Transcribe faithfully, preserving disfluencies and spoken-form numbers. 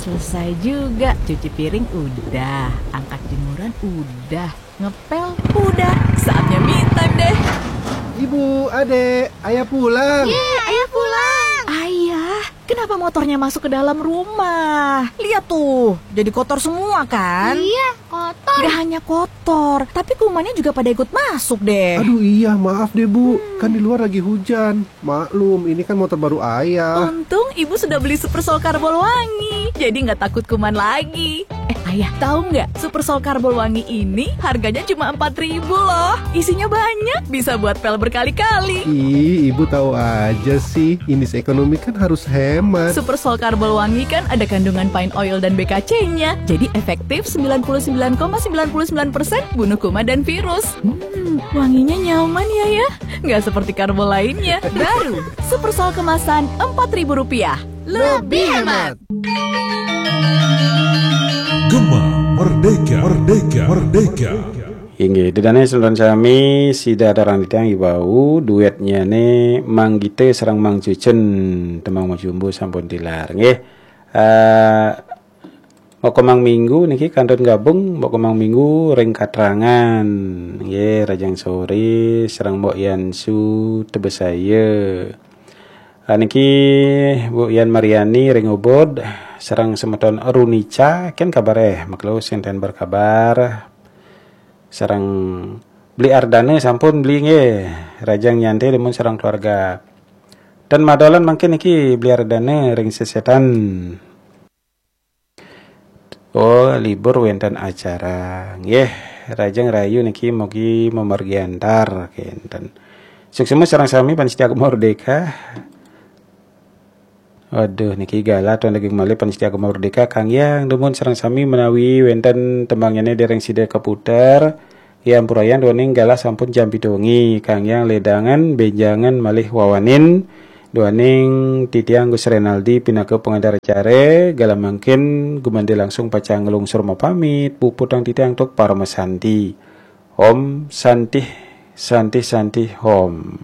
Selesai juga, cuci piring udah, angkat jemuran udah, ngepel udah. Saatnya me time deh. Ibu, adek, ayah pulang. Yeay, ayah pulang. Ayah, kenapa motornya masuk ke dalam rumah? Lihat tuh, jadi kotor semua kan? Iya, kotor. Gak hanya kotor, tapi kumannya juga pada ikut masuk deh. Aduh iya, maaf deh Bu, kan di luar lagi hujan. Maklum, ini kan motor baru ayah. Untung ibu sudah beli Super Sol Karbol Wangi, jadi nggak takut kuman lagi. Eh ayah, tahu nggak? Super Sol Karbol Wangi ini harganya cuma empat ribu loh. Isinya banyak, bisa buat pel berkali-kali. Ih, ibu tahu aja sih. Indis ekonomi kan harus hemat. Super Sol Karbol Wangi kan ada kandungan pine oil dan B K C-nya. Jadi efektif sembilan puluh sembilan koma sembilan puluh sembilan persen bunuh kuman dan virus. Hmm, wanginya nyaman ya ya. Nggak seperti karbol lainnya. Baru, Super Sol kemasan empat ribu rupiah. Lebih hemat. Gema Merdeka, Merdeka, Merdeka. Inggih, dedane semeton sami, sida aturang titiang iwau, duetnya ne Mang Gita sareng Mang Cucen, tembang Mojumbo sampun tilar. Nggih. Eh, Mbok Kemang Minggu niki kantun gabung, Mbok Kemang Minggu ring Katrangan. Nggih, Rajang Sore sareng Mbok Yansu Tebesaya. Ah, niki Bu Yan Mariani ring Ubud, sareng semeton Runica, ken kabar eh, maklo sinten berkabar. Sareng Beli Ardana sampun beli nggih. Rajang nyantai demun sareng keluarga. Dan madolan mangkin niki Beli Ardana ring sesetan. Oh, libur wenten acara. Nggih, Rajang Rayu niki mugi mamargi antar kenten. Suksma sareng sami pamiarsa Gema Merdeka. Waduh, niki galah tuan daging malih pamiarsa Gema Merdeka, Kang Yang dumun sareng sami menawi wenten tembangyane dereng sida kaputer. Ya ampurayang duaning galah sampun jam pitu wengi, Kang Yang ledangan benjangan malih wawanin duaning titiang Gus Renaldi pinaka pengantar acara, galah mangkin gumanti langsung pacang nglungsur mapamit, puputang titiang tuk parama santi. Om Santih, Santih, Santih, Om.